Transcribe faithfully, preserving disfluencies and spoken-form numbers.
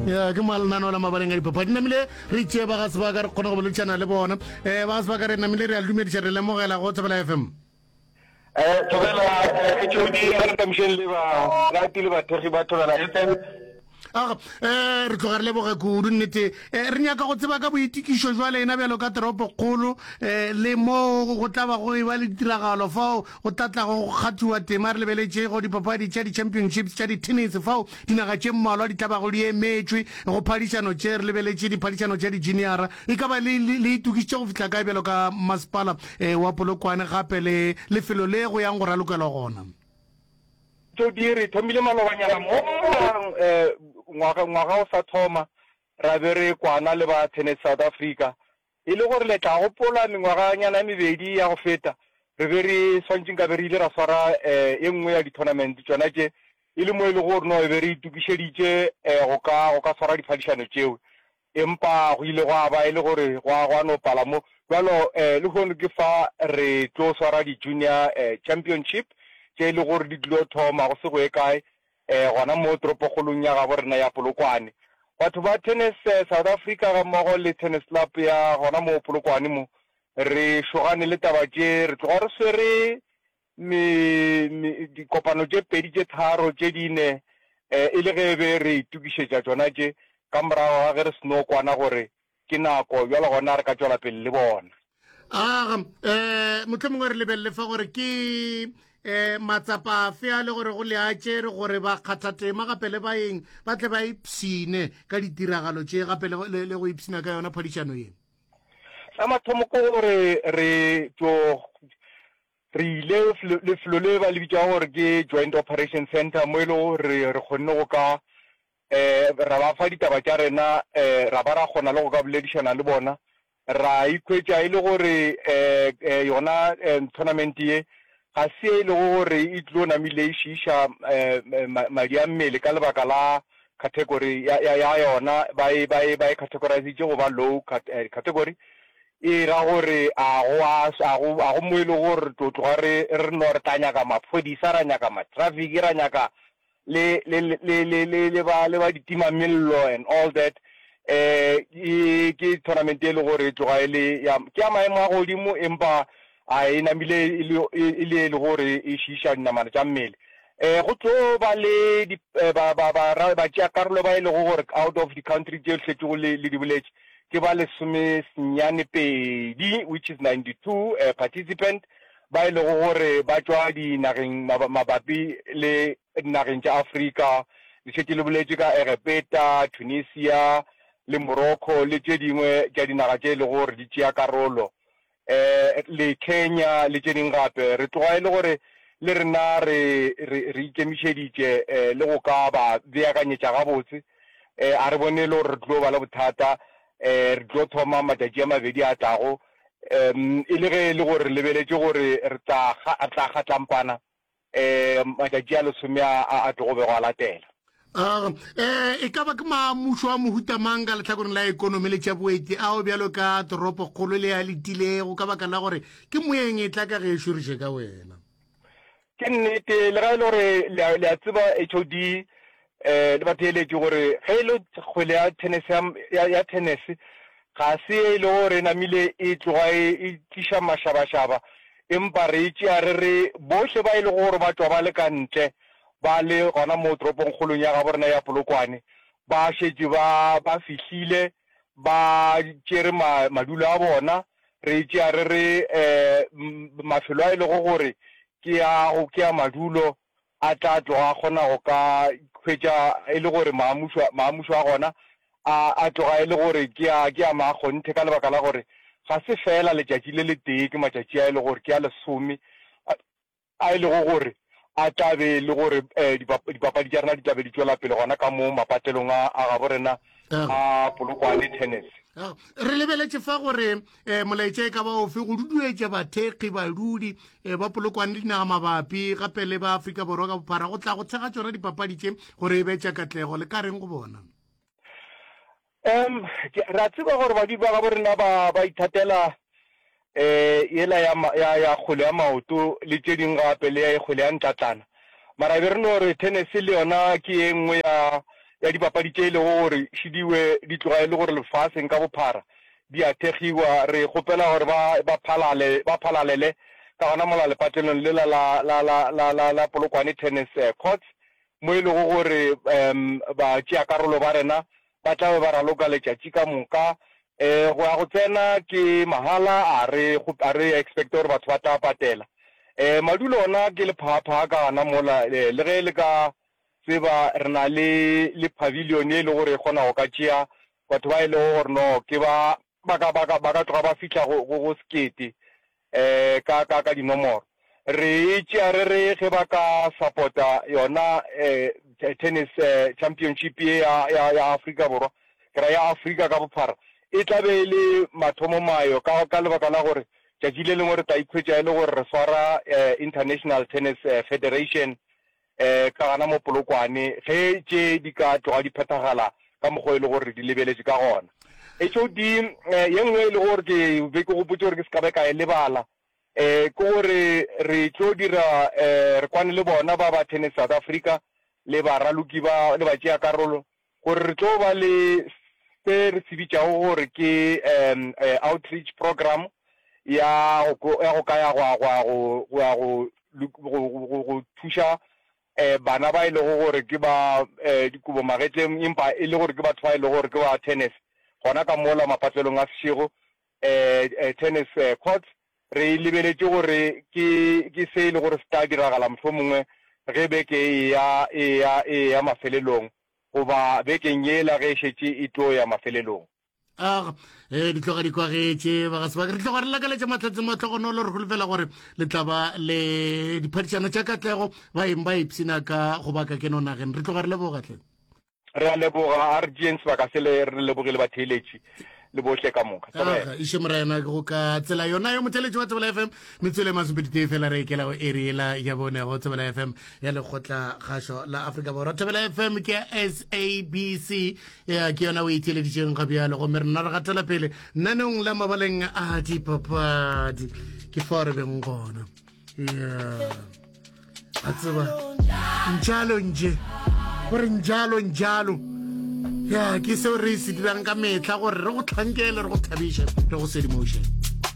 Ya, ke malenaneo la mabaleng a dipapadi. Namile re tšee ba ga sebaka re kgone go boledišana le bona. um Ba ga sebaka, re namile re a dumediša, re lemogela go Thobela F M. Eh, Thobela H O D, a re tamišeng le barati le bathekgi ba Thobela F M. Aga, eh re tloga re leboga kudu nnete. Eh, re nyaka go tseba ka boitikišo jwa lena bjalo ka toropokgolo, eh le mo go tla ba go eba le ditiragalo fao go tla tla go kgathiwa tema. Re lebeletše go dipapadi tša di-championships tša di-tennis fao dinaga tše mmalwa di tla bago di emetšwe go phadišano tše. Re lebeletše diphadišano tša di-juniora. E ka ba le le itokišitše go fihla kae bjalo ka masepala eh, wa Polokwane, gape le lefelo le go yang go ralokelwa gona? Tšodi re thomile malobanyana mo eh ngwaga ngwaga o sa thoma, ra be re kwana le ba Tennis South Africa, e le gore le tla gopola mengwaganyana e mebedi ya go feta re be re swantše nka be re ile ra swara eh e nngwe ya di-tournament tšona tše, e le mo e le gore no e be re itokišeditše eh go ka go ka swara diphadišano tšeo, empa go ile gwa ba e le gore gwa gwa no pala mo. Bjalo eh lehono ke fa re tlo swara di-junior eh championship tše e le gore di tlilo thoma go se go ye kae eh gona mo toropokgolong ya gabo rena ya Polokwane. Batho ba Tennis South Africa ga mmogo le Tennis Club ya gona mo Polokwane mo re šogane le taba tše, re tloga re swere me, me dikopano tše pedi tše tharo tše dine eh e le ge be re itokišetša tšona tše, ka morago ga ge re seno kwana gore ke nako bjalo gona re ka tšwela pele le bona. Aga, eh mohlomongwe re lebelele fa gore ke eh matsapa afe a le gore go le a tšere gore ba kgathatema gape le baeng ba tle ba ipshine ka ditiragalo tše, gape le, le, le go ipshina ka yona phadišano ye. Sa mathomo ke gore re tlo re ile lefelo le ba le bitšago gore ke Joint Operation Center, mo e le gore re kgonne go ka eh ra ba fa ditaba tša rena, eh ra ba ra kgona le go ka boledišana le bona, ra ikhwetša e le gore eh yona tournament ye ga se e lego gore e tlo namile e šiiša madi a mmele ka lebaka la category ya, ya, ya yona, ba e, ba e, ba e categorizitše go ba low category. E ra gore a go a, a go, a go mo e lego gore re tlo tloga re, re no re tla nyaka maphodisa, ra nyaka ma-traffic, ra nyaka le, le, le, le, le, le ba, le ba ditimamello and all that. Eh e ke tournament e le gore e tloga e le ya, ke ya maemo a godimo, empa a e namile e le, e le e le gore e šiiša dinamane tša mmele. Eh go tlo ba le di, ba, ba, ba, ba tšea karolo ba e lego gore out of the country tše šetšego le, le di boletše, ke ba lesome senyane pedi, which is ninety-two eh, participant ba e lego gore ba tšwa dinageng mabapi le dinageng tša Afrika. Le šetše le boletše ka Egepeta, Tunisia le Morocco le tše dingwe tša dinaga tše e lego gore di tšea karolo, eh le Kenya le tše dingwe gape. Re tloga e le gore le rena re re re ikemišeditše eh le go ka ba beakanyetša gabotse. Eh a re bone e le gore re tlo ba le bothata. Eh re tlo thoma matšatši a mabedi a tlago, um e le ge e le gore re lebeletše gore re tla re tla kgatlampana eh matšatši a lesome a a tlogo bego a latela. Uh, eh, e ka ba ke maamušo a mohuta mang ka lehlakoreng la ekonomi le tša boeti ao bjalo ka toropokgolo le a letilego, ka baka la gore ke moeng e tla ka ge e šoriše ka wena? Ke nnete, le ga e le gore le a tseba H O D eh le batheeletši gore ge e le kgwele ya tennis ya, ya tennis ga se e le gore e namile e tloga e, e tliša mašabašaba, empa re e tšea re re bohle ba e lego gore ba tšwa ba le ka ntle ba le gona mo toropongkgolong ya gabo rena ya Polokwane, ba šetše ba ba fihlile ba tšere ma, madulo a bona. Re tšea re re eh mafelo a e lego gore ke a go ke a madulo a tla tloga a kgona go ka hwetša e le gore maamušo, maamušo a gona a a tloga e le gore ke a ke a maakgonthe, ka lebaka la gore ga se fela letšatši le letee, ke matšatši a e le gore ke a lesome a e lego gore a tla be le gore eh, dipapadi tša rena di tla be di tšwela pele gona ka mo mapatlelong a a gabo rena a Polokwane tennis. Re lebeletše fa gore eh, molaetša e ka ba ofe go duduetša bathekgi badudi eh, ba Polokwane le dinaga mabapi gape le ba Afrika Borwa ka bophara go tla go thekga tšona dipapadi tše gore e be tša katlego, le ka reng go bona? Um re a tseba gore badudi ba gabo rena ba ba ithatela eh yela ya ya ya kgwele ya maoto le tše dingwe gape le ya kgwele ya ntlatlana, mara be re no re tennis le yona ke ye nngwe ya ya dipapadi tše e lego gore šidiwe di tloga e le gore lefaseng ka bophara di a thekgiwa. Re kgopela gore ba ba phalale ba phalalele ka gona mola lepatlelong lela la la la la la la Polokwane Tennis Courts mo e lego gore um batšeakarolo ba rena ba tla be ba raloka letšatši ka moka. Um go ya go tsena ke mahala, a re a re expecte gore batho ba tla patela. Um madulo ona ke lephaaphaa ka gana mola, le ge le ka tseba re na le le pavilion ye e le gore e kgona go ka tšea batho ba e lego gore no ke ba ba ka ba ka ba ka tloga ba fihla go go go sekete um ka ka ka dinomoro. Re e tšea re re ge ba ka support-a yona um tennis championship ye ya ya ya Afrika Borwa, ke ra ya Afrika ka bophara, e tla be e le mathomomayo ka ka lebaka la gore tšatši le lengwe re tla ikhwetša e le gore re swara International Tennis Federation um ka gana mo Polokwane ge tše di ka tloga di phethagala ka mokgwa e le gore re di lebeletše ka gona. H O D ye nngwe e le gore ke be ke gopotše gore ke se ka be ka e lebala um ke gore re tlo dira um re kwane le bona ba ba Tennis South Africa le baraloki ba le batšeakarolo gore re tlo ba le se re se bitšago gore ke um outreach program ya go ya go ka ya go go go ya go go go thuša um bana ba e lego gore ke ba um dikobo magetleng empa e le gore ke batho ba e lego gore ke ba tennis gona ka mola mapatlelong a Seshego um tennis courts. Re lebeletše gore ke ke se e le gore se tla diragala mohlomongwe ge beke e ya e ya e ya mafelelong goba bekeng yela ge e šetše e tlo ya mafelelong. Aga e di tloga di kwagetše ba ga sebaka. Re tloga re lakaletša Mahlatse mahlogonolo, re holofela gore le tla ba le diphadišano tša katlego, baeng ba ipshina ka go baka keno nageng. Re tloga re leboga tle. Re a leboga, a re tšeeng sebaka se le re lebogile batheeletši le bohle ka moka. Aga iše morena ke go ka tsela yona yo motheletši wa Thobela F M metswele masomepedi tee fela re ekela go eri ela ya bone go Thobela F M ya lekgotla kgašo la Afrika Borwa. Thobela F M ke ya S A B C ya ke yona o itheeleditšeng ga bjalo, gomme rena re gatela pele naneong la mabaleng a dipapadi, ke fao re beng gona ya a tseba njalo nje gore njalo njalo ya ke seo re se dirang ka metlha gore re go tlhankele, re go thabiše, re go sedimoše.